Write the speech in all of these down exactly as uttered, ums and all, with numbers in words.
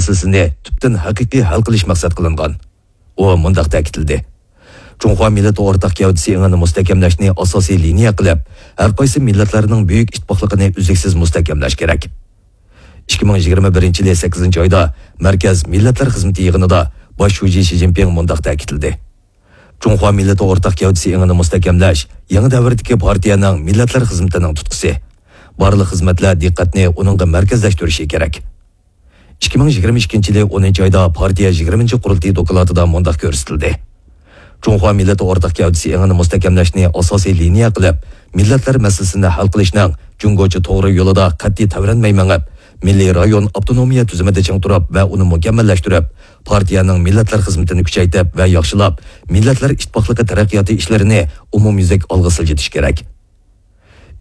مەسىلىسىنى تۈپتىن ھەقىقىي ھەل قىلىش مەقسەت قىلىنغان. ئۇ مۇنداق تەكىتلىدى: جۇڭخۇا مىللىتى ئورتاق گەۋدىسى ئېڭىنى مۇستەھكەملەشنى ئاساسىي لىنىيە قىلىپ، ھەر قايسى مىللەتلەرنىڭ بۈيۈك ئىتتىپاقلىقىنى ئۈزلۈكسىز مۇستەھكەملەش كېرەك. ئىككى مىڭ يىگىرمە بىرىنچى يىلى سەككىزىنچى ئايدا مەركەز مىللەتلەر خىزمىتى يىغىنىدا باش شۇجى شى جىنپىڭ مۇنداق تەكىتلىدى: جۇڭخۇا مىللىتى ئورتاق گەۋدىسى ئېڭىنى مۇستەھكەملەش يېڭى دەۋردىكى پارتىيەنىڭ مىللەتلەر خىزمىتىنىڭ تۇتقىسى. بارلىق خىزمەتلەر دىققەتنى ئۇنىڭغا مەركەزلەشتۈرۈشى كېرەك. ئىككى مىڭ يىگىرمە ئىككىنچى يىلى ئونىنچى ئايدا پارتىيە يىگىرمىنچى قۇرۇلتىيى دوكلاتىدا مۇنداق كۆرسىتىلدى: جۇڭخۇا مىللىتى ئورتاق گەۋدىسى ئېڭىنى مۇستەھكەملەشنى ئاساسىي لىنىيە قىلىپ، مىللەتلەر مەسىلىسىنى ھەل قىلىشنىڭ جۇڭگوچە توغرا يولىدا قەتئىي تەۋرەنمەي مېڭىپ، مىللىي رايون ئاپتونومىيە تۈزۈمىدە چىڭ تۇرۇپ ۋە ئۇنى مۇكەممەللەشتۈرۈپ، پارتىيەنىڭ مىللەتلەر خىزمىتىنى كۈچەيتىپ ۋە ياخشىلاپ، مىللەتلەر ئىتتىپاقلىقى تەرەققىياتى ئىشلىرىنى ئومۇميۈزلۈك ئالغا سىلجىتىش كېرەك.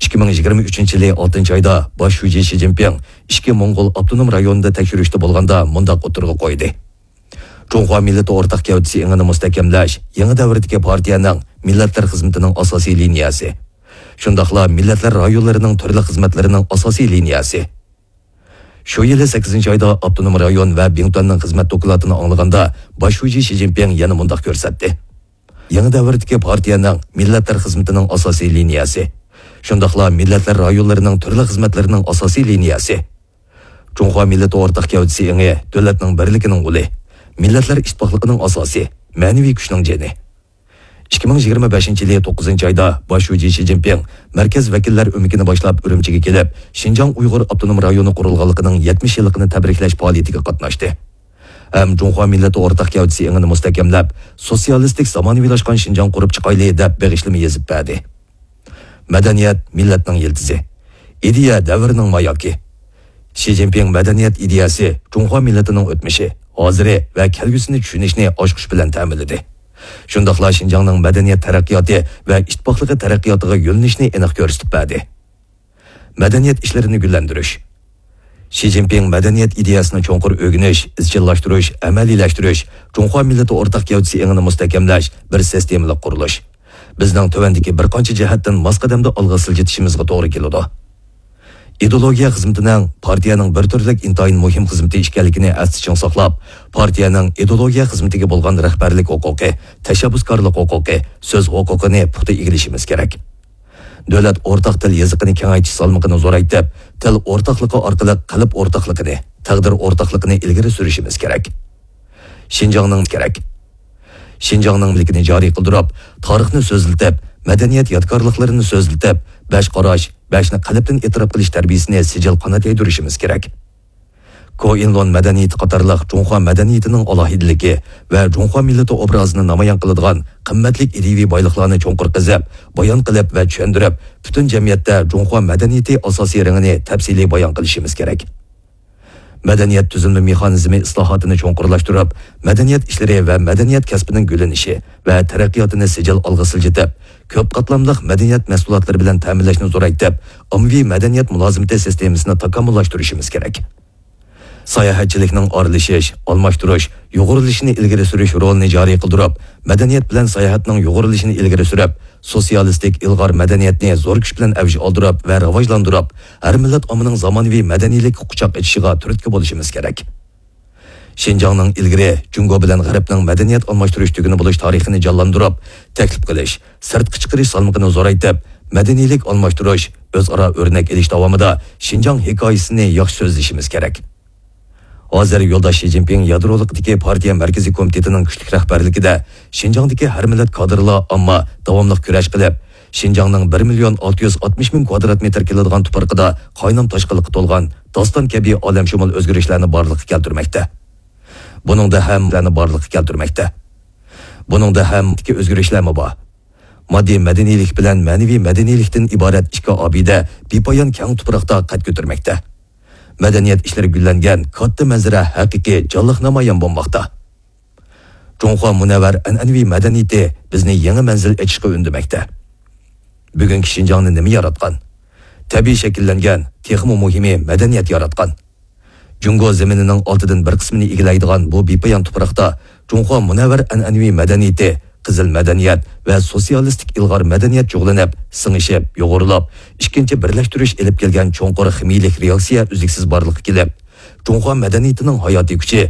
ئىككى مىڭ يىگىرمە ئۈچىنچى يىلى ئالتىنچى ئايدا باش شۇجى شى جىنپىڭ ئىچكى موڭغۇل ئاپتونوم رايونىدا تەكشۈرۈشتە بولغاندا مۇنداق ئوتتۇرىغا قويدى: جۇڭخۇا مىللىتى ئورتاق گەۋدىسى ئېڭىنى مۇستەھكەملەش يېڭى دەۋردىكى پارتىيەنىڭ مىللەتلەر خىزمىتىنىڭ ئاساسىي لىنىيەسى، شۇنداقلا مىللەتلەر رايونلىرىنىڭ تۈرلۈك خىزمەتلىرىنىڭ ئاساسىي لىنىيەسى. شۇ يىلى سەككىزىنچى ئايدا ئاپتونوم رايون ۋە بىڭتۈەننىڭ خىزمەت دوكلاتىنى ئاڭلىغاندا، باش شۇجى شى جىنپىڭ يەنە مۇنداق كۆرسەتتى: يېڭى دەۋردىكى پارتىيەنىڭ مىللەتلەر خىزمىتىنىڭ ئاساسىي لىنىيەسى، شۇنداقلا مىللەتلەر رايونلىرىنىڭ تۈرلۈك خىزمەتلىرىنىڭ ئاساسىي لىنىيەسى. جۇڭخۇا مىللىتى ئورتاق گەۋدىسى ئېڭى دۆلەتنىڭ بىرلىكىنىڭ ئۇلى، مىللەتلەر ئىتتىپاقلىقىنىڭ ئاساسى، مەنىۋى كۈچنىڭ جېنى. ئىككى مىڭ يىگىرمە بەشىنچى يىلى توققۇزىنچى ئايدا باش شۇجى شى جىنپىڭ مەركەز ۋەكىللەر ئۆمىكىنى باشلاپ ئۈرۈمچىگە كېلىپ، شىنجاڭ ئۇيغۇر ئاپتونوم رايونى قۇرۇلغانلىقىنىڭ يەتمىش يىللىقىنى تەبرىكلەش پائالىيىتىگە قاتناشتى. ھەم جۇڭخۇا مىللىتى ئورتاق گەۋدىسى ئېڭىنى مۇستەھكەملەپ، سوتسىيالىستىك زامانىۋىلاشقان شىنجاڭ قۇرۇپ چىقايلى دەپ بېغىشلىما يېزىپ بەردى. مەدەنىيەت مىللەتنىڭ يىلتىزى. ئىدىيە دەۋرنىڭ ماياكى. شى جىنپىڭ مەدەنىيەت ئىدىيەسى جۇڭخۇا مىللىتىنىڭ ئۆتمۈشى، ھازىرى ۋە كەلگۈسىنى چۈشىنىشنى ئاچقۇچ بىلەن تەمىنلىدى. شۇنداقلا شىنجاڭنىڭ مەدەنىيەت تەرەققىياتى ۋە ئىتتىپاقلىقى تەرەققىياتىغا يۆنىلىشنى ئېنىق كۆرسىتىپ بەردى. مەدەنىيەت ئىشلىرىنى گۈللەندۈرۈش. شى جىنپىڭ مەدەنىيەت ئىدىيەسىنى چوڭقۇر ئۆگىنىش، ئىزچىللاشتۇرۇش، ئەمەلىيلەشتۈرۈش، جۇڭخۇا مىللىتى ئورتاق گەۋدىسى ئېڭىنى مۇستەھكەملەش بىر سىستېمىلىق قۇرۇلۇش. بىزنىڭ تۆۋەندىكى بىر قانچە جەھەتتىن ماس قەدەمدە ئالغا سىلجىتىشىمىزغا توغرا كېلىدۇ. ئىدېئولوگىيە خىزمىتىنىڭ پارتىيەنىڭ بىر تۈرلۈك ئىنتايىن مۇھىم خىزمىتى ئىكەنلىكىنى ئەستە چىڭ ساقلاپ، پارتىيەنىڭ ئىدېئولوگىيە خىزمىتىگە بولغان رەھبەرلىك ھوقۇقى، تەشەببۇسكارلىق ھوقۇقى، سۆز ھوقۇقىنى پۇختا ئىگىلىشىمىز كېرەك. دۆلەت ئورتاق تىل يېزىقىنى كېڭەيتىش سالمىقىنى زورايتىپ، تىل ئورتاقلىقى ئارقىلىق قەلب ئورتاقلىقىنى، تەقدىر ئورتاقلىقىنى ئىلگىرى سۈرۈشىمىز كېرەك. شىنجاڭنىڭ كېرەك. شىنجاڭنىڭ مۈلكىنى جارى قىلدۇرۇپ، تارىخنى سۆزلىتىپ، مەدەنىيەت يادىكارلىقلىرىنى سۆزلىتىپ، بەش قاراش، بەشنى قەلبتىن ئېتىراپ قىلىش تەربىيىسىنى سىجىل قانات يايدۇرۇشىمىز كېرەك. كوئىنلون مەدەنىيىتى قاتارلىق جۇڭخۇا مەدەنىيىتىنىڭ ئالاھىدىلىكى ۋە جۇڭخۇا مىللىتى ئوبرازىنى نامايان قىلىدىغان قىممەتلىك ئىدىيىۋى بايلىقلارنى چوڭقۇر قېزىپ، بايان قىلىپ ۋە چۈشەندۈرۈپ، پۈتۈن جەمئىيەتتە جۇڭخۇا مەدەنىيىتى ئاساسىي رېڭىنى تەپسىلىي بايان قىلىشىمىز كېرەك. مەدەنىيەت تۈزۈلمە مېخانىزمى ئىسلاھاتىنى چوڭقۇرلاشتۇرۇپ، مەدەنىيەت ئىشلىرى ۋە مەدەنىيەت كەسپىنىڭ گۈللىنىشى ۋە تەرەققىياتىنى سىجىل ئالغا سىلجىتىپ، كۆپ قاتلاملىق مەدەنىيەت مەھسۇلاتلىرى بىلەن تەمىنلەشنى زورايتىپ، ئاممىۋى مەدەنىيەت مۇلازىمىتى سىستېمىسىنى تاكامۇللاشتۇرۇشىمىز كېرەك. ساياھەتچىلىكنىڭ ئارىلىشىش، ئالماشتۇرۇش، يۇغۇرۇلۇشىنى ئىلگىرى سۈرۈش رولىنى جارى قىلدۇرۇپ، مەدەنىيەت بىلەن ساياھەتنىڭ يۇغۇرۇلۇشىنى ئىلگىرى سۈرۈپ، سوتسىيالىستىك ئىلغار مەدەنىيەتنى زور كۈچ بىلەن ئەۋج ئالدۇرۇپ ۋە راۋاجلاندۇرۇپ، ھەر مىللەت ئاممىنىڭ زامانىۋى مەدەنىيلىككە قۇچاق ئېچىشىغا تۈرتكە بولۇشىمىز كېرەك. شىنجاڭنىڭ ئىلگىرى جۇڭگو بىلەن غەربنىڭ مەدەنىيەت ئالماشتۇرۇش تۈگۈنى بولۇش تارىخىنى جانلاندۇرۇپ، تەكلىپ قىلىش، سىرتقا چىقىرىش سالمىقىنى زورايتىپ، مەدەنىيلىك ئالماشتۇرۇش، ئۆزئارا ئۆرنەك ئېلىش داۋامىدا شىنجاڭ ھېكايىسىنى ياخشى سۆزلىشىمىز كېرەك. ھازىر يولداش شى جىنپىڭ يادرولۇقىدىكى پارتىيە مەركىزىي كومىتېتىنىڭ كۈچلۈك رەھبەرلىكىدە شىنجاڭدىكى ھەر مىللەت كادىرلار ئامما داۋاملىق كۈرەش قىلىپ، شىنجاڭنىڭ بىر مىليون ئالتە يۈز ئاتمىش مىڭ كۋادرات مېتىر كېلىدىغان تۇپرىقىدا قاينام تاشقىنلىققا تولغان داستان كەبى ئالەمشۇمۇل ئۆزگىرىشلەرنى بارلىققا كەلتۈرمەكتە. بۇنىڭدا ھەم بارلىققا كەلتۈرمەكتە. بۇنىڭدا ھەم ئۆزگىرىشلەرمۇ بار. ماددىي مەدەنىيلىك بىلەن مەنىۋى مەدەنىيلىكتىن ئىبارەت ئىككى ئابىدە بىپايان كەڭ تۇپراقتا قەد كۆتۈرمەكتە. مەدەنىيەت ئىشلىرى گۈللەنگەن كاتتا مەنزىرە ھەقىقىي جانلىق نامايان بولماقتا. جۇڭخۇا مۇنەۋۋەر ئەنئەنىۋى مەدەنىيىتى بىزنى يېڭى مەنزىل ئېچىشقا ئۈندىمەكتە. بۈگۈنكى شىنجاڭنى نېمە ياراتقان؟ تەبىئىي شەكىللەنگەن، تېخىمۇ مۇھىمى مەدەنىيەت ياراتقان. جۇڭگو زېمىنىنىڭ ئالتىدىن بىر قىسمىنى ئىگىلەيدىغان بۇ بىپايان تۇپراقتا جۇڭخۇا مۇنەۋۋەر ئەنئەنىۋى مەدەنىيىتى، قىزىل مەدەنىيەت ۋە سوتسىيالىستىك ئىلغار مەدەنىيەت جۇغلىنىپ، سىڭىشىپ، يۇغۇرۇلۇپ، ئىككىنچى بىرلەشتۈرۈش ئېلىپ كەلگەن چوڭقۇر خىمىيىلىك رېئاكسىيە ئۈزلۈكسىز بارلىققا كېلىپ، جۇڭخۇا مەدەنىيىتىنىڭ ھاياتىي كۈچى،